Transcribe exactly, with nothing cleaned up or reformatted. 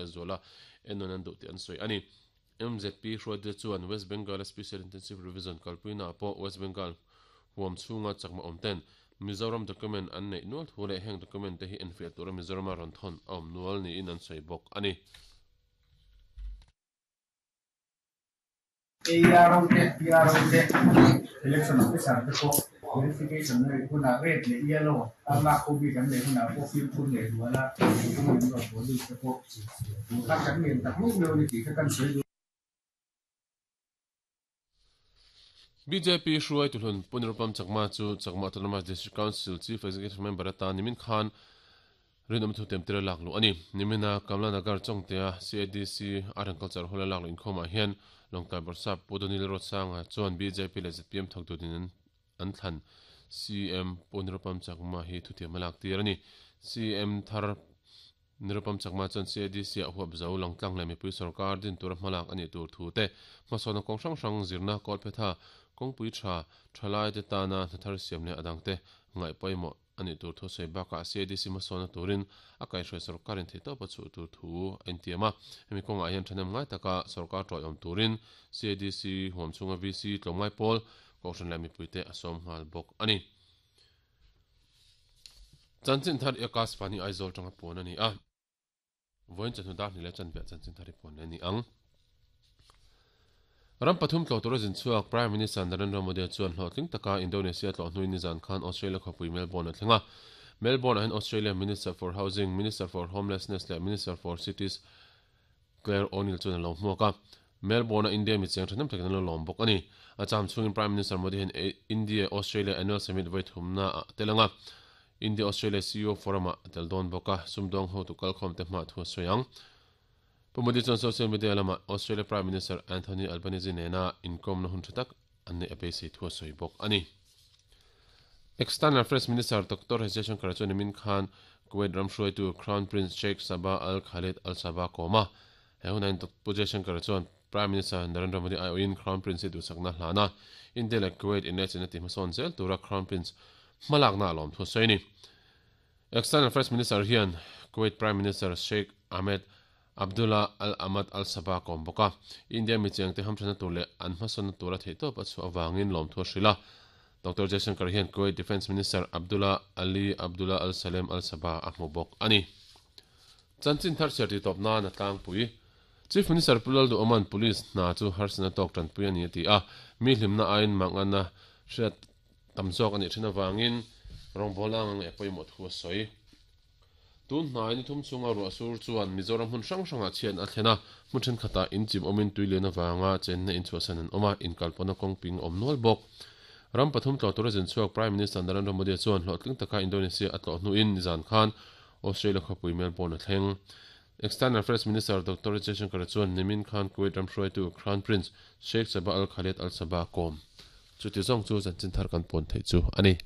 lehzuala ennawn an duh tih an sawi a ni. M Z P hruaite chuan West Bengal Special Intensive Revision kalpuina pawh West Bengal huam chhunga chakma awm ten Mizoram document an neih nual thu leh heng document te hi enfiah tura Mizorama rawn thawn a awm nual niin an sawi bawk a ni. A R O te, P R O te, election officer te pawh verification na rih hunah red leh yellow a lak ho bik an nei hunah pawh fimkhur leh zuala mipui an rawn pawl bik te pawh kha kan ngen tak meuh meuh a ni tih kha kan sawi duh. B J P hruai tuhlun Punirupam Chakma chu Chakma Autonomous District Council Chief Executive Member atan nimin khan rinawm thu temtir a lak luh a ni. Nimina Kamla Nagar Chawngtea C A D C Art and Culture Hall a lak luh inkhawmah hian Lawngtlai Bawrhsap Pu Donil Rotsanga chuan B J P leh Z P M thawk dutin an thlan C M Punirupam Chakma hi thutiam a lak tir a ni. C M thar Nirupam Chakma chuan C A D C ah huap zo Lawngtlang leh mipui sarkar din tura hmalak a nih tur thu te hmasawn kawng hrang hrang zirna kawl phetha kawngpui tha thalai te tana hnathar siam leh adang te ngaih pawimawh a nih tur thu sawi bakah C A D C hmasawn turin a kaihhruai sarkarin theih tawp a chhuh tur thu a intiam a. Hemi kawngah hian thanem ngai taka sarkar tawi awm turin C A D C huam chhunga V C tlawmngai pawl kohhran leh mipui te a sawm nghal bawk a ni. Chanchin thar Iakas Fani Aizawl tanga pawn a ni a. Vawiin chawhnu dar hnih leh chanve chanchin thar hi pawn leh a ni ang. Ram pathum tlawh tura zin chhuak Prime Minister Narendra Modi chuan hlawhtling taka Indonesia tlawh hnuin nizan khan Australia khawpui Melbourne a thleng a. Melbourne ah hian Australia Minister for Housing, Minister for Homelessness leh Minister for Cities Claire O'Neill chuan a lo hmuak a. Melbourne a India mi cheng thahnem takin an lo lawm bawk a ni. A cham chhungin Prime Minister Modi hian India Australia Annual Summit vawi thumna ah tel anga India Australia C E O Forum ah a tel dawn bawk a, sumdawng ho tu kalkhawm te hma thu a sawi ang. Pu Modi chuan social media lamah Australia Prime Minister Anthony Albanese nena inkawmna hun tha tak an neih a beisei thu a sawi bawk a ni. External Affairs Minister Doctor S Jaishankar chuan nimin khan Kuwait ram hruaitu Crown Prince Sheikh Sabah Al Khalid Al Sabah kawm a. He hunain Pu Jaishankar chuan Prime Minister Narendra Modi aiawhin Crown Prince hi duhsakna hlan a, India leh Kuwait inlehchina ti hmasawn zel tura Crown Prince hmalakna a lawm thu a sawi a ni. External Affairs Minister hian Kuwait Prime Minister Sheikh Ahmed Abdullah Al Ahmad Al Sabah kawm bawk a, India mi chengte hamthana tur leh an hmasawnna tura theihtawp a chhuah avangin lawm thu a hrilh a. Doctor Jaishankar hian Kuwait Defence Minister Abdullah Ali Abdullah Al Salem Al Sabah a hmu bawk a ni. Chanchin thar chhiar tih tawp nan a tlangpui. Chief Minister Pu Lalduh-Oman Police hna chu harsatna tawk tanpui a ni a ti a, mi hlimna aiin manganna hriat tam zawk a nih thin avangin rawngbawlna ang ang eh pawimawh thu a sawi. Tun hnai ni thum chhunga ruah sur chuan Mizoram hmun hrang hrangah chhiat a thlen a, hmun thenkhatah inchim awmin tui lian avanga chenna inchhuahsan an awm a, inkalpawhna kawngping a awm nual bawk. Ram pathum tlawh tura zin chhuak Prime Minister Narendra Modi chuan hlawhtling taka Indonesia a tlawh hnuin nizan khan Australia khawpui Melbourne a thleng. External Affairs Minister Doctor Jaishankar chuan nimin khan Kuwait ram hruaitu Crown Prince Sheikh Sabah Al Khaled Al Sabah kawm. Chuti zawng chu chanchin thar kan pawn theih chu a ni.